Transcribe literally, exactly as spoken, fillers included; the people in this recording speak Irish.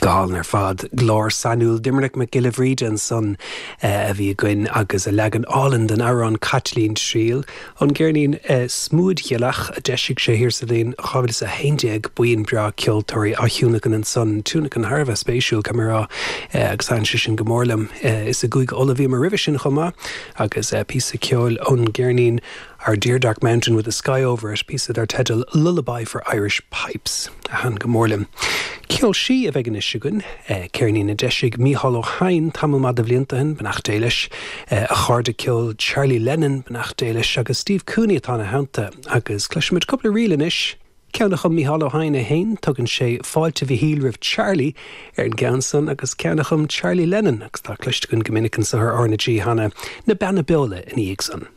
Go hálainn ar fad glór sainiúil Doiminic Mac Giolla Bhríde ansan a bhí againn agus a leagan álainn den amhrán Caitlín Triail ón gceirnín Smúidghilleach a d'eisigh sé thiar sa bhliain dhá mhíle is a haon déag buíon breá ceoltóirí á thionlacan ansan tionlacan thar a bheith spéisiúil caithfidh mé a rá agus thaitin sé sin go mór liom. Is i gCúige Uladh a bhíomar roimhe sin chomh maith agus píosa ceoil ón gceirnín Our Dear Dark Mountain with the Sky Over It, píosa dar teideal Lullaby for Irish Pipes a thaitin go mór liom. Ceol sí a bheidh anois againn, ceirnín a d'eisigh Mícheál Ó Cadhain tamall maith de bhlianta ó shin, beannacht Dé leis, a chairde ceoil Charlie Lennon, beannacht Dé leis, agus Steve Cooney atá ina theannta, agus cloisfimid cúpla ríl anois. Ceann a chum Mícheál Ó Cadhain é féin, tugann sé Fáilte Mhichíl roimh Charlie ar an gceann san agus ceann a chum Charlie Lennon agus tá cloiste againn go minic anseo ar R na G cheana na Beanna Beola ina dhiaidh san.